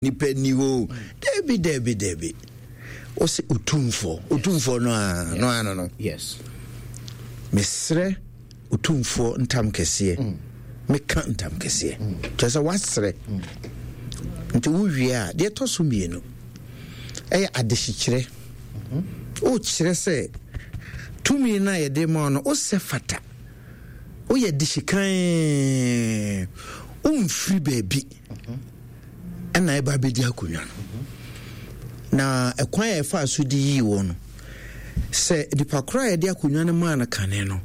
Nipa nni hɔ o. Dabi, dabi, dabi. Ɔsɛ otumfoɔ. Otumfoɔ no a, no ano no. Yes. Mesrɛ otumfoɔ ntam kɛseɛ. Mm. Meka ntam kɛseɛ. Mm. Kyerɛ sɛ wasrɛ. Mm. Nti wowie a, deɛ ɛtɔ so mmienu ɛyɛ adehyekyerɛ. Mm-hmm. Wokyerɛ sɛ tumi no a yɛde ma no, wosɛ fata. Woyɛ dehyekan. Womfiri baabi. Mm-hmm. ɛna ɛba abɛdi akonnwa no na ɛkwan a ɛfaa so de yii wɔ no sɛ nipa koro a yɛde akonnwa no maa no kane no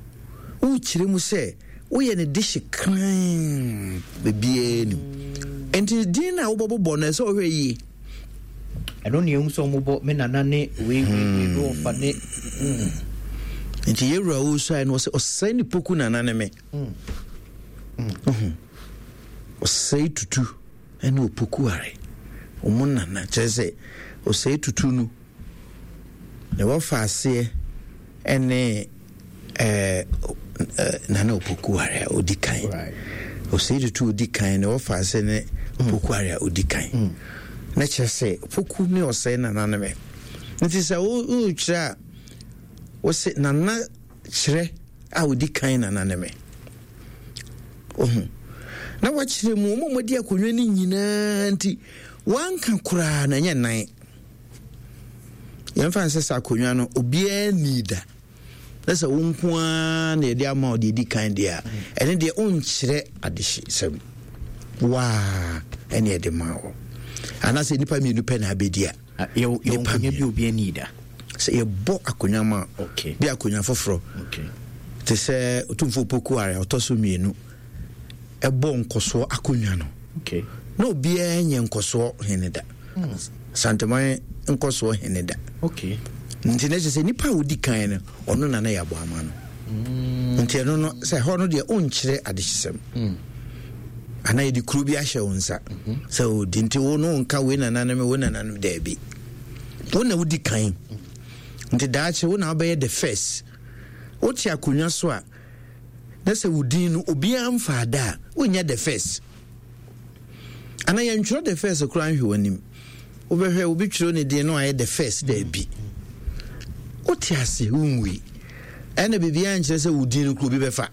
wokyerɛ mu sɛ woyɛ ne dehye kran baabiara nim nti din no a wobɛbobɔ no ɛsɛ ɔhwɛ yie ɛno ne ɛhu sɛ ɔmobɔ me nana ne wei wei wei ne ɔfa ne hmm. nti yɛwura wo suae no ɔsɛ ɔsɛe ne poku nana ne me hmm. Hmm. Ɔsɛe Tutu ne Opokuare, wɔn nana, kyerɛ sɛ Ɔsɛe Tutu no, ne wɔfa aseɛ ne ɛɛ Nana Opokuare a ɔdi kan. Ɔsɛe Tutu ɔdi kan, ne wɔfa aseɛ ne Opokuare a ɔdi kan. Mm. Na kyerɛ sɛ Opoku ne Ɔsɛe nana ne me. Nti sɛ worekyerɛ a, wose nana kyerɛ a ɔdi kan nana ne me. Ohu. Na wakyerɛ mu, wɔn a wɔadi akonnwa no nyinaa nti, wanka koraa na ɛnyɛ nan. Yɛmfa nsɛ sɛ akonnwa no, obiara ni da. Na sɛ wo nko ara na yɛde ama wo deɛ ɛdi kan deɛ a, ɛne deɛ wonkyerɛ adehyesɛm. Waa ɛne ɛde ma wo. Anaasɛ nnipa mmienu pɛ na abɛdi a. Ah, yɛwɔ nkonnwa bi obi ani da. Sɛ yɛbɔ akonnwa ma bi akonnwa foforɔ te sɛ Otumfoɔ Opoku Are a ɔtɔ so mmienu ɛbɔ nkɔsoɔ akonnwa no na obiara nyɛ nkɔsoɔ hene da hmm. Santeman nkɔsoɔ hene da nti na kyerɛ sɛ nipa a ɔdi kan no ɔno na na yɛabɔ ama no hmm. nti ɛno no sɛ ɛhɔ no deɛ ɔnkyerɛ adehyesɛm hmm. anaa yɛde kuro bi ahyɛ wo nsa mhm. sɛ ɔdi nti wo no nka wei nananom wei nananom daabi wo na wodi kan nti daakye wo na wobɛyɛ the first wote akonnwa so a na sɛ wo din no obiara mfaa da a wonyɛ the first anaa yɛntwerɛ the first koraa nhwɛ w'anim wobɛhwɛ obi twerɛ ne din no ayɛ the first daabi wote ase wonwui ɛna biribiara nkyerɛ sɛ wo din no kuro bi bɛfa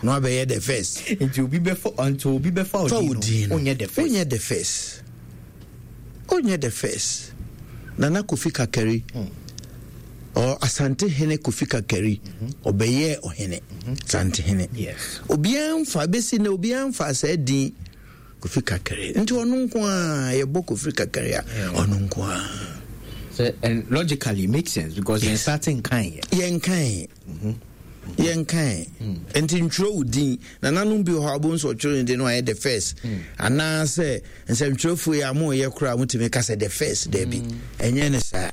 na wabɛyɛ the first. Nti obi bɛfa nti obi bɛfa odin no onyɛ the first. Onyɛ the first. Onyɛ the first. Nana Kofi Kakari. Mm. Or Asante Hene Kofi Kakari. Mm-hmm. Ɔbɛyɛ ɔhene. Mm-hmm. Asante Hene. Yes. Obiara nfa besi na obiara nfa saa din Kofi Kakari. Nti ɔno nko a yɛbɔ Kofi Kakari a ɔno nko a. So, and logically it makes sense because yɛn starting kan yɛ. Yɛn kan. Yɛnkae. Nti ntwerɛ wo din. Nananom bi wɔ hɔ a wobɛhu sɛ ɔtwerɛ ne din no ayɛ the first. Anaasɛ nsɛmtwerɛfoɔ yi a moyɛ koraa motumi ka sɛ the first. Daabi. Ɛnyɛ ne saa.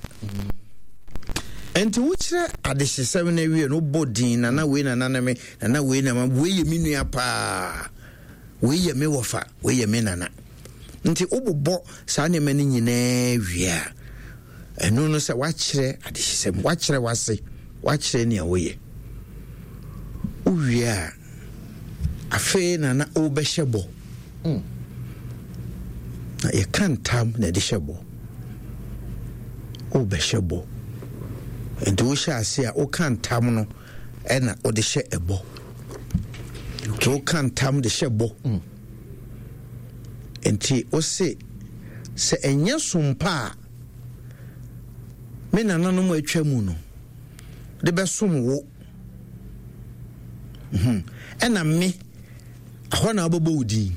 Nti wokyerɛ adehyesɛm no awie no wobɔ din nana wei nana ne me nana wei na wei yɛ me nua paa wei yɛ me wɔfa wei yɛ me nana. Nti wobobɔ saa nneɛma no nyinaa wie a Ɛno no sɛ woakyerɛ adehyesɛm, woakyerɛ w'ase, woakyerɛ nea woyɛ. Wowie a, afei na na wobɛhyɛ bɔ. Mm. Na yɛka ntam na ɛde hyɛ bɔ. Wobɛhyɛ bɔ. Nti wohyɛ ase a woka ntam no ɛna wode hyɛ ɛbɔ. Nti woka ntam de hyɛ bɔ. Mm. Nti wose sɛ ɛnyɛ sompa a me nananom a atwa mu no de bɛsom wo hmm. ɛna me ɛhɔ na wobɛbɔ wo din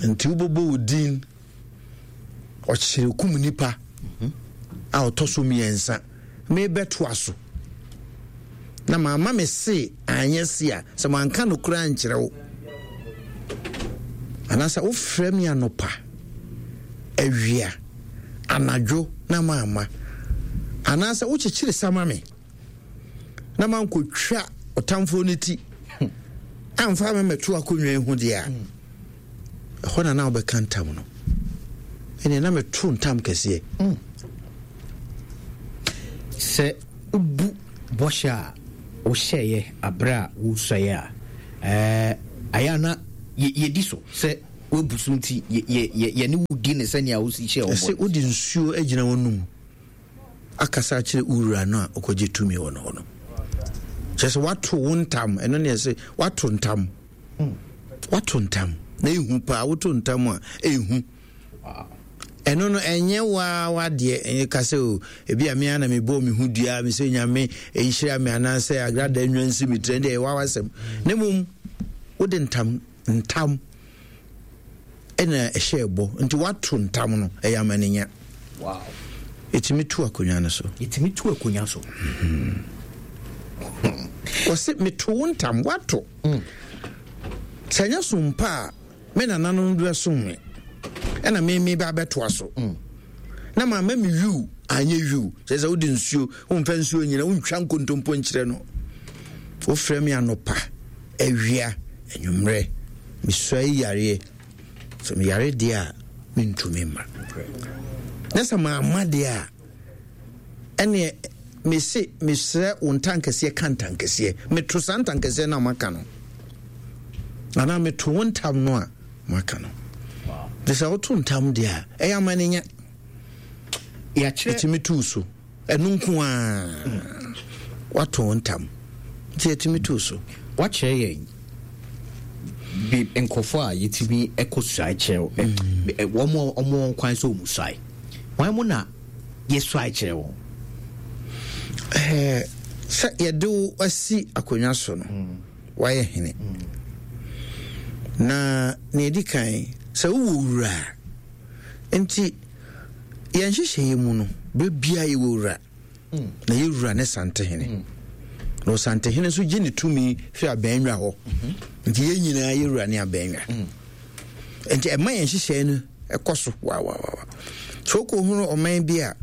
nti wobɛbɔ wo din ɔkyerɛ kum nipa a ɔtɔ so mmiɛnsa mebɛtoa so na mamma me se anyɛ se a sɛ manka no koraa nkyerɛ wo anaasɛ wofrɛ me anɔpa awia anadwo na mamma anaasɛ wokyekyere sa ma me na mankɔtwa ɔtamfoɔ no ti amfa me mɛto akonnwa yi ho deɛ a ɛhɔ na na wobɛka ntam no ɛneɛ na meto ntam kɛseɛ mm. Sɛ wobu bɔhyɛ a wohyɛeɛ aberɛ a wosuaeɛ a, ɛɛ, ayɛ a na yɛdi so sɛ. Woabu so nti yɛne wo di ne sɛnea wosi hyɛ wɔn. Ɛsɛ wode nsuo agyina w'anum akasa akyerɛ wo wura no a ɔkɔgye tumi wɔ no hɔ no. Kyerɛ sɛ woato wo ntam, ɛno ne ɛsɛ woato ntam. Woato ntam na ehu paa, woto ntam a ehu. Ɛno no ɛnyɛ waa wadeɛ ɛnyɛ ka sɛ o ebi a me ara na mebɔɔ me ho dua me sɛ nyame nhyira me anaasɛ agrada nnwa nsi me tiri ɛndeɛ ɛyɛ waa wasɛm na mmom wode ntam ntam ɛna ɛhyɛ ɛbɔ nti wato ntam no ɛyɛ amanenya. Wow. Ɛtumi tu akonnwa no so. Ɛtumi tu akonnwa so. Wɔse meto wo ntam wato. Sɛ ɛnyɛ so mpa a me nananom de bɛsom me ɛna me me ba bɛtoa so mm. Na ma ma me wiw anyɛ wiw kyerɛ sɛ wode nsuo womfa nsuo nyina wontwa nkontompo nkyerɛ no wofrɛ me anɔpa awia anwummerɛ mesua yi yareɛ sɛ meyare deɛ a mentumi mma na sɛ maama deɛ a ɛneɛ mese mesrɛ wo ntankɛseɛ ka ntankɛseɛ meto saa ntankɛseɛ no a maka no anaa meto wo ntam no a maka no de sɛ woto ntam deɛ a ɛyɛ ama no nya ɛtumi tuu so ɛno nko a wato wo ntam nti ɛtumi tuu so. Wakyerɛ yɛn bi nkurɔfoɔ a yɛtumi kɔ suae kyerɛ wɔn wɔn kwan sɛ wɔn suae wɔn mo na yɛsuae kyerɛ wɔn. Ɛɛ sɛ yɛde wo asi akonnwa so no wayɛ hene na nea ɛdi kan sɛ wowɔ wura nti yɛn nhyehyɛeɛ mu no berɛ biara yɛwɔ wura na yɛ wura ne santehene na ɔsantehene nso gye ne tumi firi abɛnwa hɔ nti yɛn nyinaa yɛ wura ne abɛnwa nti ɛma yɛn nhyehyɛeɛ no ɛkɔ so wawawawa so wokɔhunu ɔman bi a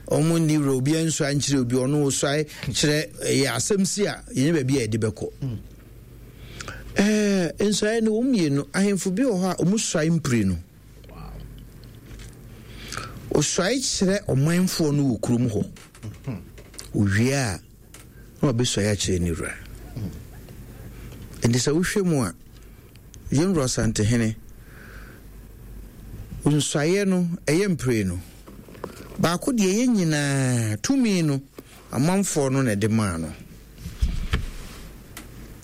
ɔmo nni wura obiara nsua nkyerɛ obi ɔno ɔsuae kyerɛ ɛyɛ asɛm si a yɛnyɛ baabi a yɛde bɛkɔ ɛɛ nsuae no wɔn mmienu ahemfo bi wɔ hɔ a wɔn suae mpire no Osuae kyerɛ ɔmanfoɔ no wɔ kurom hɔ. Owie a, na wabɛsuae akyerɛ ne wura. Nti sɛ wohwɛ mu a, yɛn wura Ɔsantehene, nsuaeɛ no, ɛyɛ mprenu. Baako deɛ yɛn nyinaa tumi no, amanfoɔ no na ɛde maa no.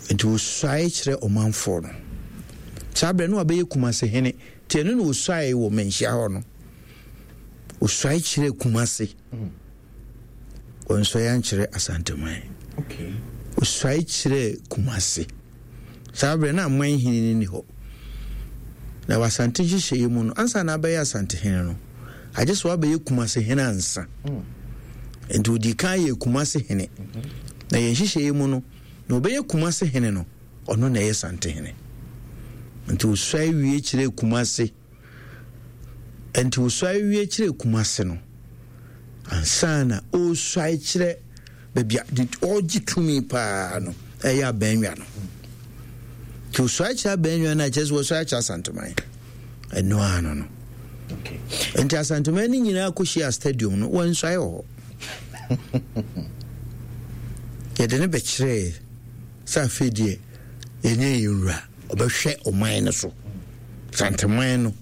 Nti osuae kyerɛ ɔmanfoɔ no. Saa berɛ no wabɛyɛ Kumase hene. Nti ɛno na osuae wɔ Manhyia hɔ no. Osuae kyerɛ Kumase. Ɔnsuae ankyerɛ Asanteman. Osuae kyerɛ Kumase. Saa berɛ na aman hene no ni hɔ. Na wɔ Asante nhyehyɛeɛ mu no, ansa na abɛyɛ Asante hene no, agye sɛ wabɛyɛ Kumase hene ansa. Nti ɔdii kan yɛ Kumase hene. Na yɛn nhyehyɛeɛ mu no, na ɔbɛyɛ Kumase hene no, ɔno na ɛyɛ Sante hene. Nti ɔsuae wie kyerɛɛ Kumase. Nti ɔsuae wie kyerɛɛ Kumase no, ansa na ɔresuae kyerɛ baabi a ɔregye tumi paa no, ɛyɛ abɛnwa no. Nti ɔsuae kyerɛ abɛnwa no a, kyerɛ sɛ wɔsuae kyerɛ Asanteman. Ɛno ara no no. Nti Asanteman no nyinaa kɔhyia stadium no, wɔnsuae wɔ hɔ. Yɛde no bɛkyerɛɛ sɛ afei deɛ yɛnyɛ yɛn wura, ɔbɛhwɛ ɔman no so. Santeman no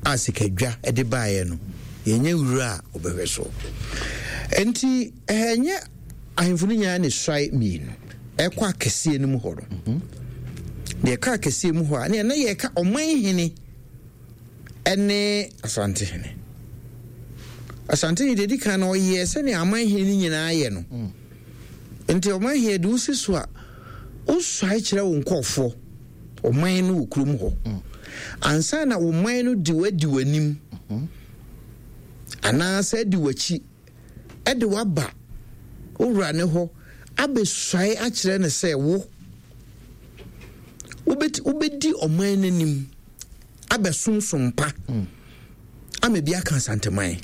a sikadwa de baeɛ no, yɛnyɛ wura a ɔbɛhwɛ so. Nti ɛnyɛ ahemfo no nyinaa ne suae mmienu ɛkɔ akɛseɛ no mu hɔ no. Mhm. Deɛ ɛkɔ akɛseɛ mu hɔ a, ne ɛna yɛka ɔman hene ne Asantehene. Asantehene deɛ di kan no ɔyɛɛ sɛnea aman hene no nyinaa yɛ no. Mm. Nti ɔman hene de wosi so a, wosuae kyerɛ wo nkɔɔfoɔ, ɔman no wɔ kurom hɔ. Mm. Ansa na wo man no de wadi w'anim mm-hmm. anaasɛ adi w'akyi de waba wo wura ne hɔ abɛsuae akyerɛ no sɛ wo wobɛdi ɔman no anim abɛsomsom pa mm. ama bi aka Asanteman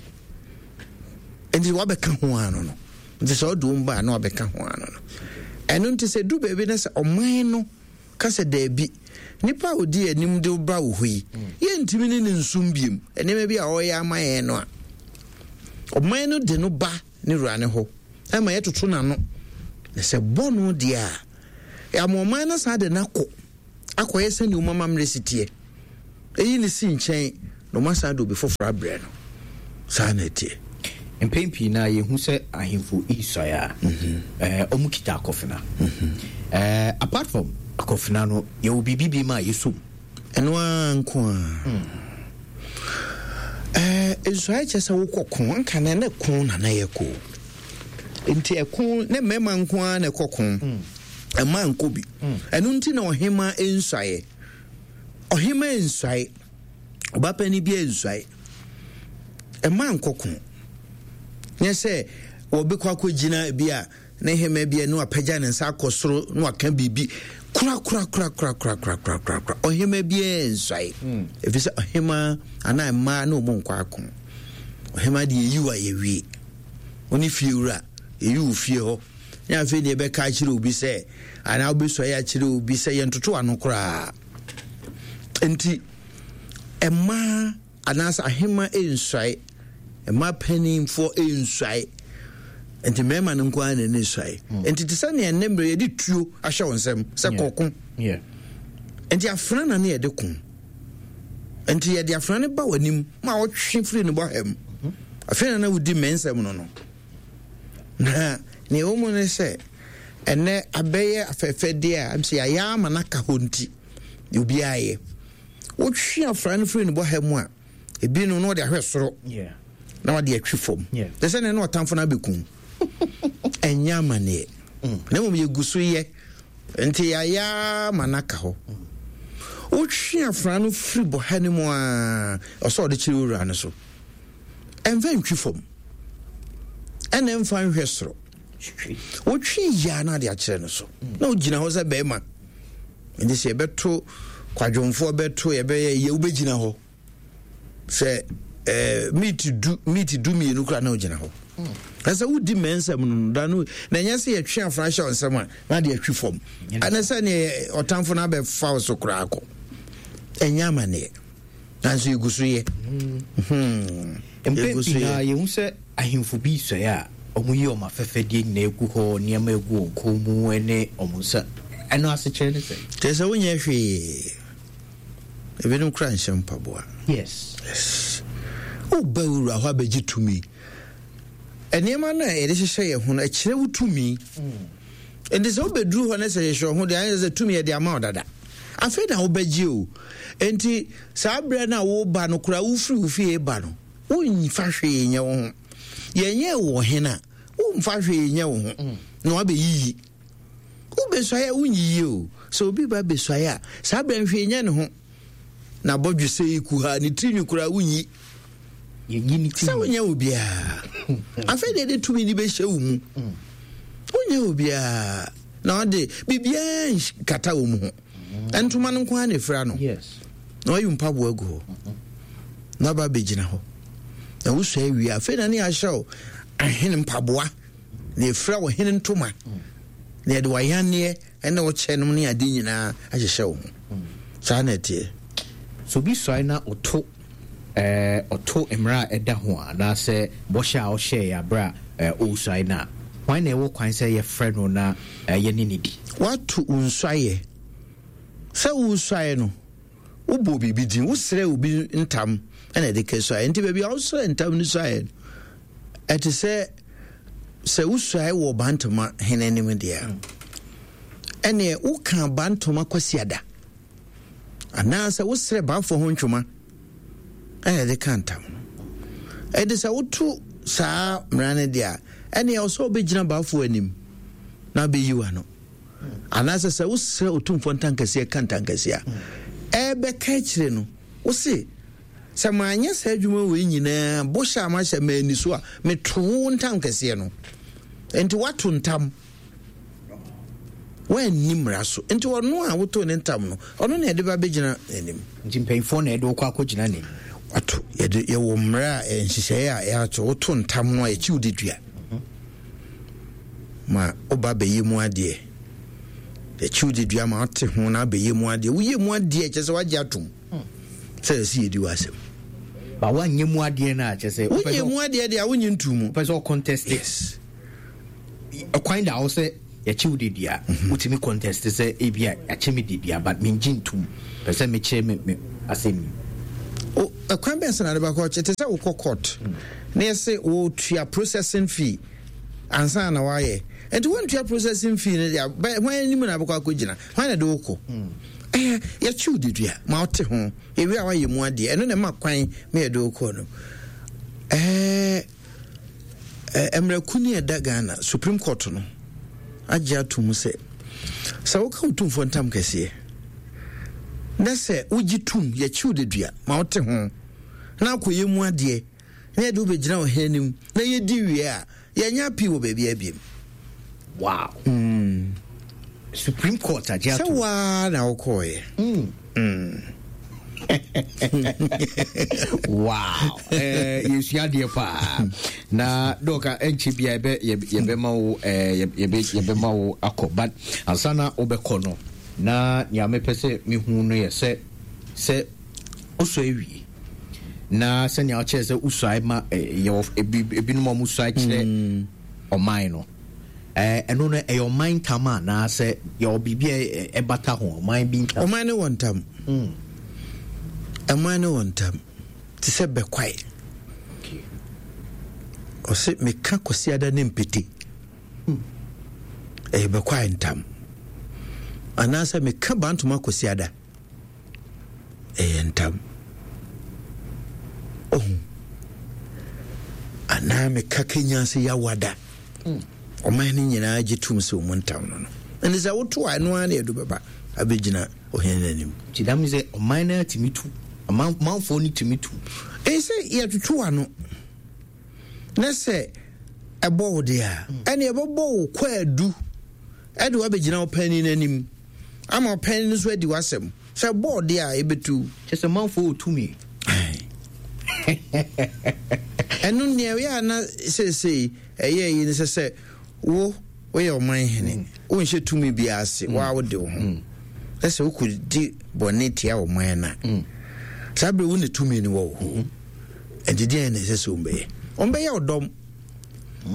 nti wabɛka ho ano no nti sɛ ɔde wɔn ba a na wabɛka ho ano no ɛno nti sɛ du baabi na sɛ ɔman no ka sɛ daabi nipa a odi anim de ba wɔ hɔ yi mm. yɛntumi ne ne nsum biem nneɛma bi a ɔreyɛ ama yɛn no a ɔman no de no ba ne wura ne hɔ ɛma yɛtoto n'ano na sɛ bɔ no deɛ a ama ɔman no saa de no akɔ akɔyɛ sɛnea wɔn amammerɛ si teɛ. Eyi ne si nkyɛn na wɔn asan de obi foforɔ abrɛ no. Saa na ɛteɛ. Mpɛn pii no a yɛhu sɛ ahemfo resuae a, wɔn kita akɔfena. Apart from akɔfena no, yɛwɔ biribi bi ma a yɛsɔ mu. Ɛno ara nko ara. Ɛɛ nsuae kyerɛ sɛ wokɔ ko anka na ne ko na na yɛ ko. Nti ɛko ne mmarima nko ara na ɛkɔ ko. Mmaa nkɔ bi. Ɛno nti na ɔhema nsuaeɛ. Ɔhema nsuae. Ɔbapanin bi nsuae. Mmaa nkɔ ko. Nyɛ sɛ wɔbɛkɔ akɔgyina bi a ne hema bi a na wapagya ne nsa akɔ soro na waka biribi korakorakorakorakorakorakorakora. Ɔhema biara nsuae. Ɛfiri sɛ ɔhema anaa mmaa ne wɔn nkɔ ako. Ɔhema deɛ yɛyi wo a yɛwie. Wo ne fie wura, yɛyi wo fie hɔ. Ne afei deɛ ɛbɛka akyerɛ obi sɛ anaa wobɛsuae akyerɛ obi sɛ yɛntoto ano koraa. Nti mmaa anaasɛ ahema nsuae, mmaa panimfoɔ nsuae. Nti mmarima no nko ara na ɛne suae. Nti te sɛ nea ɛnnɛ mmerɛ yɛde tuo ahyɛ wo nsam sɛ kɔko. Nti afena na ne yɛde ko. Nti yɛde afena no ba w'anim ma ɔtwe firi ne bɔha mu. Afei na na wodi mmɛnsɛm no no. Na nea ɛwɔ mu ne sɛ ɛnɛ abɛyɛ afɛɛfɛdeɛ a sɛ yɛayɛ ama no aka hɔ nti obiara yɛ. Wotwe afena no firi ne bɔha mu a, ebi no na ɔde ahwɛ soro na ɔde atwi fam. Te sɛ nea na ɔtamfo no abɛkum. Ɛnyɛ amanneɛ. Na mmom yɛgu so yɛ. Nti yɛayɛ ara ma no aka hɔ. Wotwe afena no firi bɔha no mu a, ɔsɛ ɔde kyerɛ owura no so. Ɛmfa ntwi fam. Ɛna ɛmfa nhwɛ soro. Wotwe yia na ade akyerɛ no so. Na wogyina hɔ sɛ bɛrima. Nti sɛ yɛbɛto kwadwomfoɔ bɛto yɛbɛyɛ yɛ wobɛgyina hɔ. Sɛ eh, meet du meet du mmienu koraa na wogyina hɔ. Na sɛ wodi mmɛnsɛm no da no na ɛnyɛ sɛ yɛtwe afra hyɛ nsɛm a na ade atwi fam. Ɛne sɛ neɛ ɔtamfo no abɛfa wo so koraa kɔ. Ɛnyɛ amanneɛ. Nanso yɛgu so yɛ. Mpɛn pii na yɛhu sɛ ahemfo bi sɔe a wɔyi wɔn afɛfɛdeɛ nyinaa gu hɔ, nneɛma egu wɔn kɔn mu ne wɔn nsa. Ɛno asekyerɛ ne sɛ? Kyerɛ sɛ wonyɛ hwee. Ebinom koraa nhyɛ mpaboa. Yes. Yes. Woba wura hɔ abɛgye tumi. Nneɛma no a yɛde hyehyɛ yɛn ho no, ɛkyerɛ wo tumi. Nti sɛ wobɛduru hɔ na sɛ hyehyɛ wo ho deɛ, ayɛ sɛ tumi yɛde ama wo dada. Afei na wobɛgye o. Nti saa berɛ no a woba no koraa, wofiri wo fie ba no, womfa hwee nyɛ wo ho. Yɛnyɛɛ wo ɔhene a, womfa hwee nyɛ wo ho na wabɛyiyi. Wobɛsuae a wonyiyi o. Sɛ obi ba bɛsuae a, saa berɛ no hwee nyɛ ne ho. Na bɔdwesɛ yi kuhaa ne tirinwi koraa wonyi. Sɛ wonyɛ obiara. Afei deɛ de tumi no bɛhyɛ wo mu. Wonyɛ obiara. Na ɔde biribiara nkata wo mu ho. Ntoma no nko ara na ɛfira no. Na wayi mpaboa agu hɔ. Na aba abɛgyina hɔ. Na wosua awie afei na ne ahyɛ wo ahene mpaboa. Na ɛfira wo hene ntoma. Na yɛde wayanneɛ ne wo kyɛ nom ne ade nyinaa ahyehyɛ wo ho. Saa na ɛteɛ. Sɛ obi suae na ɔto ɛɛ ɔto mmara a ɛda ho a, anaasɛ bɔhyɛ a ɔhyɛeɛ berɛ a ɔresuae no a, hwan na ɛwɔ kwan sɛ yɛfrɛ no na yɛne no di? Woato wo nsuaeɛ. Sɛ woresuae no, wobɔɔ biribi din, wosrɛɛ obi ntam na ɛde kɛsuaeɛ. Nti baabi a wosrɛ ntam no suaeɛ no, ɛte sɛ sɛ wosuae wɔ Bantama hene anim deɛ a, ɛneɛ woka Bantama Kwasiada anaasɛ wosrɛ baafo ho ntwoma ɛna ɛde ka ntam no. Ɛde sɛ woto saa mmara no deɛ a, ɛneɛ ɔsɛ wobɛgyina baafo anim na abɛyi w'ano. Anaasɛ sɛ wosrɛ otumfoɔ ntankɛseɛ ka ntankɛseɛ a, ɛbɛka akyire no, wose sɛ manyɛ saa adwuma wei nyinaa, bɔhyɛ a mahyɛ manni so a, meto wo ntam kɛseɛ no. Enti woato ntam, woanni mmara so. Enti ɔno a wotoo ne ntam no, ɔno na yɛde ba bɛgyina n'anim. Nti mpanyinfoɔ na yɛde wokɔ akɔgyina n'anim. Wato, yɛde yɛwɔ mmara a nhyehyɛeɛ a yɛato, woto ntam no a yɛkyi wo de dua. Ma woba bɛyɛ mu adeɛ. Yɛkyi wo de dua ma wote ho na abɛyɛ mu adeɛ. Woyɛ mu adeɛ kyerɛ sɛ woagye atom. Sɛ yɛsi yɛdi w'asɛm. Ba woanyɛ mu adeɛ no a kyerɛ sɛ. Wonyɛ mu adeɛ deɛ a wonye ntu mu. Wopɛ sɛ ɔcontest. Yes. Ɛkwan da hɔ sɛ yɛkye wo dedua. Mhm. Wotumi contest sɛ ebi a yɛakye me dedua but mengye ntum. Pɛ sɛ mekyerɛ me me asɛm yi. Ɛkwan bɛn so na de bɛkɔ? Te sɛ wokɔ court na yɛse wotua processing fee ansa na woayɛ. Nti wontua processing fee no deɛ, hwan anim na bɛkɔ akɔgyina? Hwan na de wokɔ? Ɛyɛ yɛkye wo dedua ma wote ho. Yɛwie a woayɛ mu adeɛ. Ɛno na ɛma kwan ma yɛde wokɔ no. Ɛɛ Mmerɛ kuni a ɛda Ghana Supreme Court no agye ato mu sɛ, sɛ woka Otumfoɔ ntam kɛseɛ na sɛ wogye tom yɛkyew dedua ma wote ho na akɔyɛ mu adeɛ na yɛde wobɛgyina ɔhene anim na yɛdi wie a, yɛnyɛ appeal wɔ baabi abiem. Wow. Supreme Court agye ato. Sɛ waa na wokɔɔyɛ. Wow. Eh, yɛsua adeɛ paa. Na dɔka ɛnkyɛ bia yɛbɛ yɛbɛma wo eh, yɛbɛ yɛbɛma wo akɔ but ansa na wobɛkɔ no na nea mepɛ sɛ mehu no yɛ sɛ sɛ wosɔ awie na sɛnea wokyerɛ sɛ wosuae ma eh, yɛwɔ ebinom a wɔsuae kyerɛ mm. ɔman no. Ɛno no, ɛyɛ ɔman ntam anaasɛ yɛwɔ biribi a ɛbata ho, ɔman bi ntam? Ɔman ne wɔ ntam. Ɔman ne wɔ ntam. Te sɛ bɛkwae. Ɔse meka Kwasiada ne mpete. Ɛyɛ bɛkwae ntam. Anaasɛ meka Bantoma Kwasiada. Ɛyɛ ntam. Ohu. Anaa meka Kenya ase Yawada. Ɔman no nyinaa gye tom sɛ ɔmu ntam no no. Ɛnti sɛ woto a ɛno ara na yɛde bɛba abɛgyina ɔhene no anim. Nti dam sɛ ɔman no atumi tu, ɔmanfoɔ no tumi tu. Ɛyɛ sɛ yɛtoto ano na sɛ ɛbɔ wo deɛ a, ɛne ɛbɛbɔ wo kwaadu ɛde wabɛgyina wo panin no anim. Ama ɔpɛn no nso adi w'asɛm. Sɛ bɔɔ deɛ a, ɛbɛtu. Kyɛ sɛ manfoɔ wɔ tumi. Ɛno nea ɛyɛ a na seesei ɛyɛ yi ne sɛ sɛ wo woyɛ ɔman hene, mm. wonhyɛ tumi biara ase, mm. waa wode wo ho. Mm. Na sɛ wokɔdi bɔne tia ɔman no a, saa berɛ wo ne tumi no wɔ wo hɔ. Mm-hmm. Ɛnti deɛn na ɛsɛ sɛ wɔmbɛyɛ? Wɔmbɛyɛ ɔdɔm.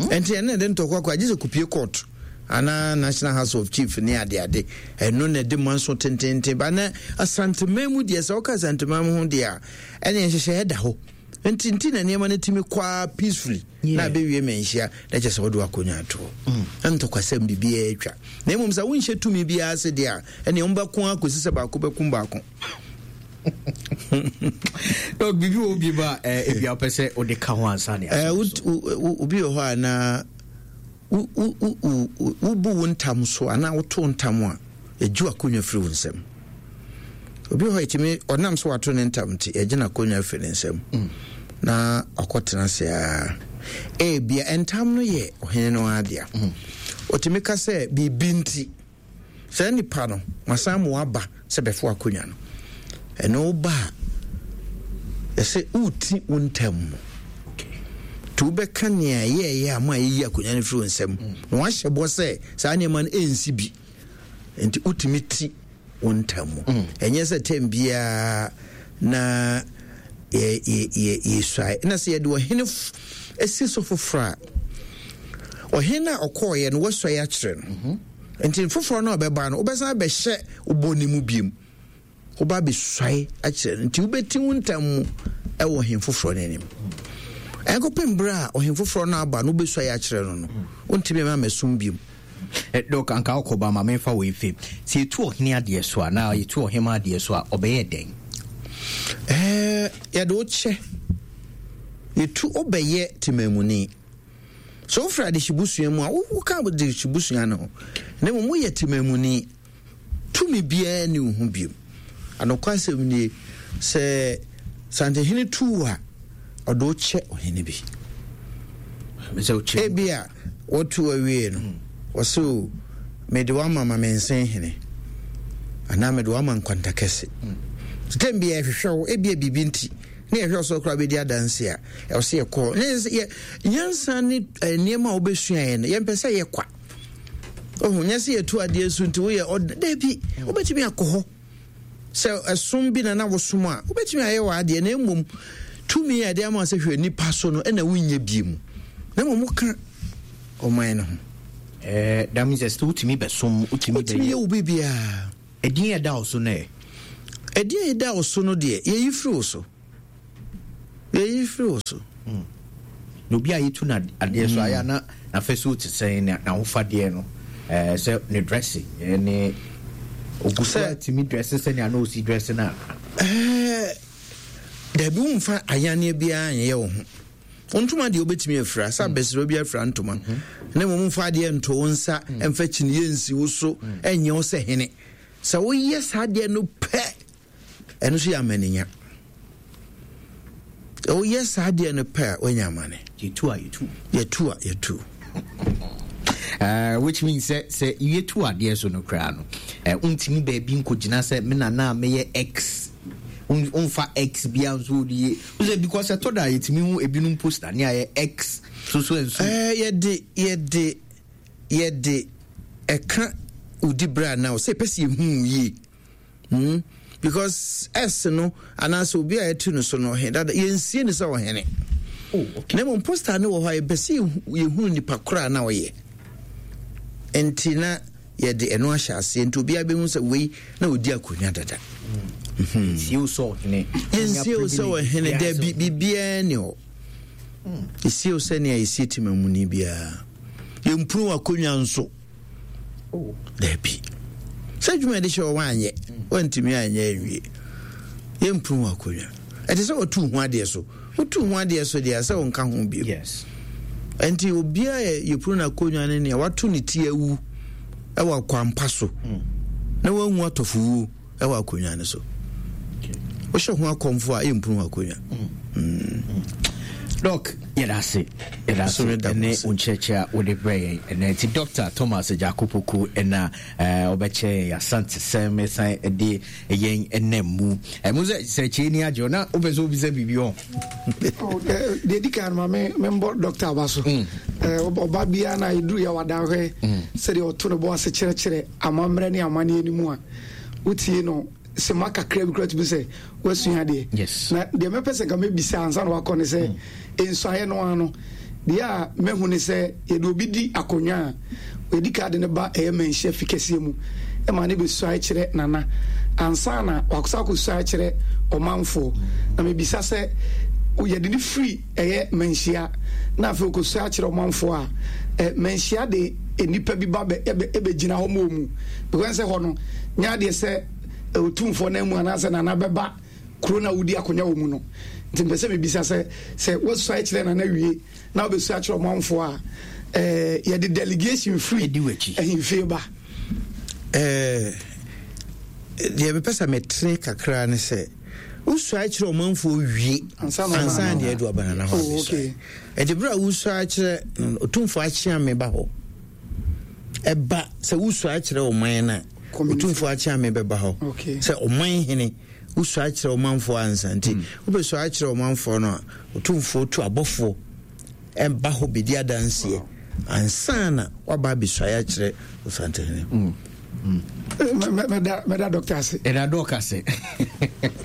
Ɛnti ɛno na ɛde ntɔkwa kɔ agye sɛ kɔpie court anaa National House of Chief ne adeade. Ɛno na ɛde manso tententen ba. Na Asanteman mu deɛ, sɛ woka Asanteman mu ho deɛ a, ɛne nhyehyɛeɛ da hɔ. Nti nti na nneɛma no tumi kɔ ara peacefully na abɛwie manhyia na kyerɛ sɛ wode w'akonnwa ato hɔ. Mm. Na ntɔkwasɛm biribiara atwa. Na mmom sɛ wonhyɛ tumi biara ase deɛ a, ɛne wɔbɛko ara kɔsi sɛ baako bɛkum baako. Dɔk, biribi wɔ bi ba eh, ebi a wopɛ sɛ wode ka ho ansa ne eh, obi wɔ hɔ a na wobu wo ntam so anaa woto ntam a ɛgye w'akonnwa firi wo nsam. Obi wɔ hɔ ɛtumi ɔnam so wato ne ntam nti ɛgye n'akonnwa firi ne nsam mm. na ɔkɔtena ase a ebia ntam no yɛ ɔhene no ara dea. Mm. Ɔtumi ka sɛ biribi nti Saa nipa no, masan mo aba sɛ bɛfo akonnwa no. Ɛno woba a, ɛsɛ woti wo ntam mu. Nti wobɛka nea ɛyɛɛyɛ a ma yɛyi akonnwa no firi wo nsam. Na wahyɛ bɔ sɛ saa nneɛma no ɛnsi bi. Nti wotumi ti wo ntam mu. Mm. Ɛnyɛ sɛ tɛm biara na yɛsuae. Na sɛ yɛde ɔhene si so foforɔ a, ɔhene a ɔkɔɔeɛ no wasuae akyerɛ no. Mhm. Nti foforɔ no a ɔbɛba no, wobɛsan abɛhyɛ wobɔ ne mu biom. Woba abɛsuae akyerɛ no. Nti wobɛti wo ntam mu ɛwɔ ɔhene foforɔ no anim. Ɛnkɔpem berɛ a ɔhene foforɔ no aba no wobɛsuae akyerɛ no no, wontumi ma mɛsom biom. Eh, Dɔk, anka wokɔ ba ma memfa wei mfim. Sɛ yɛtu ɔhene adeɛ so a, na yɛtu ɔhema adeɛ so a, ɔbɛyɛ dɛn? Eh, yɛde wo kyɛ. Yɛtu wobɛyɛ temamuni. Sɛ wofiri adehyebusua mu a, woka adehyebusua no ho. Na mmom woyɛ temamuni. Tumi biara nni wo ho bio. Anokwasɛm nie, sɛ Santehene tu wo a, ɔde wo kyɛ ɔhene bi. Ebia wɔto awie no, wɔse o, mede wo ama Mamensen hene, anaa mede wo ama Nkwantakɛse. Tɛm bi yɛhwehwɛ wo, ebia biribi nti, na yɛhwɛ wo sɛ koraa bɛdi adanse a, ɛwɔ sɛ yɛkɔ. Nyansa ne eh, nneɛma a wobɛsuaeɛ no, yɛmpɛ sɛ yɛkwa. Ohu, nyɛ sɛ yɛtu adeɛ so nti woyɛ ɔd dabi, wobɛtumi akɔ hɔ. Sɛ ɛsom bi na na wosom a, wobɛtumi ayɛ w'adeɛ na mmom tumi a ɛde ama sɛ hwɛ nipa so no ɛna wonyɛ bie mu. Na mmom woka ɔman no ho. Eh, that means sɛ wotumi bɛsom, wotumi bɛyɛ. Wotumi yɛ wo biribiara. Ɛdin a ɛda wo so no ɛ? Ɛdin a ɛda wo so no deɛ, yɛyi firi wo so. Yɛyi firi wo so. Na obi a yɛtu no adeɛ so ayɛ a na n'afasuo te sɛn, na n'ahofadeɛ no, ɛɛ sɛ ne dressing ne ogu so atumi dresse sɛnea na osi dresse no a. Ɛɛ dabi, womfa ayanneɛ biara nyɛ wo ho. Wo ntoma deɛ wobɛtumi afira sɛ abɛsrɛ bi afira ntoma, na mmom mfa adeɛ nto wo nsa, mfa kyiniiɛ nsi wo so, ɛnyɛ wo sɛ hene. Sɛ woyɛ saa adeɛ no pɛ, ɛno nso yɛ amanenya. Woyɛ saa adeɛ no pɛ a, woanya amane. Yɛtu a yɛtu. Yɛtu a yɛtu. Which means sɛ sɛ yɛtu adeɛ so no koraa no, wontumi baabi nkɔgyina sɛ me nana a meyɛ x, womfa x bia nso wode yɛ sɛ, because ɛtɔ da a yɛtumi hu ebinom poster ne ayɛ x so so nso. Yɛde yɛde yɛde ɛka wodi berɛ a na sɛ ɛpɛ sɛ yɛhu yie. Because S no anaasɛ obi a yɛtu no so no ɔhene dada, yɛnsie no sɛ ɔhene. Oh, okay. Na mmom poster no wɔ hɔ a yɛpɛ sɛ yɛhunu nipa korɔ a na ɔyɛ. Nti na yɛde ɛno ahyɛ aseɛ nti obiara bɛhu sɛ wei na ɔdi akonnwa dada. Yɛnsie wo sɛ ɔhene. Yɛnsie wo sɛ ɔhene dabi, biribiara ni hɔ. Yɛsie wo sɛ nea yɛsie temamuni biara. Yɛmpunu w'akonnwa nso. Oh. Dabi. Sɛ adwuma yɛde hyɛ wɔ anyɛ, wantumi anyɛ awie. Yɛmpunu wɔ akonnwa. Ɛte sɛ wɔtu ho adeɛ so. Wotu ho adeɛ so deɛ sɛ wonka ho bio. Yes. Nti obiara yɛ yɛpunu n'akonnwa ne nea wato ne ti awu ɛwɔ akwampa so. Na wanwu atɔfowuo ɛwɔ akonnwa no so. Wohyɛ ho akɔmfo a, ɛmpunu akonnwa. Dɔk, yɛda ase, yɛda ase ɛne wo nkyerɛkyerɛ a wode brɛ yɛn ɛnɛ. Nti Dr. Thomas Agyakopoku ɛna ɔbɛkyerɛ yɛn Asantesɛm ɛsan de yɛn ɛnam mu. Ɛmu sɛ sɛ kyerɛ ni agye na wopɛ sɛ wobisa biribi hɔ. Deɛ di kan ma me membɔ dɔkta aba so. Ɔba biara na ɛduru yɛ wada hwɛ sɛdeɛ ɔto ne bɔ ase kyerɛkyerɛ amammerɛ ne amanneɛ no mu a, wotie no sema kakra bi kora tumi sɛ woasua adeɛ. Na deɛ mɛpɛ sɛ nka mɛbisa ansa na wakɔ ne sɛ, nsuaeɛ no ara no, deɛ a mɛhu ne sɛ yɛde obi di akonnwa a, yɛdi ka de ne ba ɛyɛ manhyia fi kɛseɛ mu ma ne bɛsuae kyerɛ nana ansa na wakɔsa akɔsuae kyerɛ ɔmanfoɔ. Na mebisa sɛ yɛde ne firi ɛyɛ manhyia na afei ɔkɔsuae kyerɛ ɔmanfoɔ a, manhyia de nnipa bi ba bɛgyina hɔ ma ɔmu, because sɛ hɔ no nyɛ adeɛ sɛ otumfoɔ no amu anaasɛ nana bɛba kuro no a wodi akonnwa wɔ mu no. Nti mpɛ sɛ mebisa sɛ, sɛ woasuae kyerɛ nana wie na wobɛsua kyerɛ ɔmanfoɔ a, yɛde delegation firi ahemfie ba? Deɛ mepɛ sɛ metere kakra ne sɛ, wosuae kyerɛ ɔmanfoɔ wie ansa na adu aba nana hɔ abɛsuae. Ɛde berɛ a wosuae kyerɛ otumfoɔ akyea me ba hɔ, ɛba sɛ wosuae kyerɛ ɔman no a, otumfoɔ akyea me bɛba hɔ sɛ ɔman hene. Wosuae kyerɛ ɔmanfoɔ ansa nti, wobɛsuae kyerɛ ɔmanfoɔ no a, otumfoɔ tu abɔfoɔ ɛba hɔ bɛdi adanseɛ ansa na waba abɛsuae akyerɛ Osantehene. Mɛda dɔkta ase. Ɛda dɔk ase.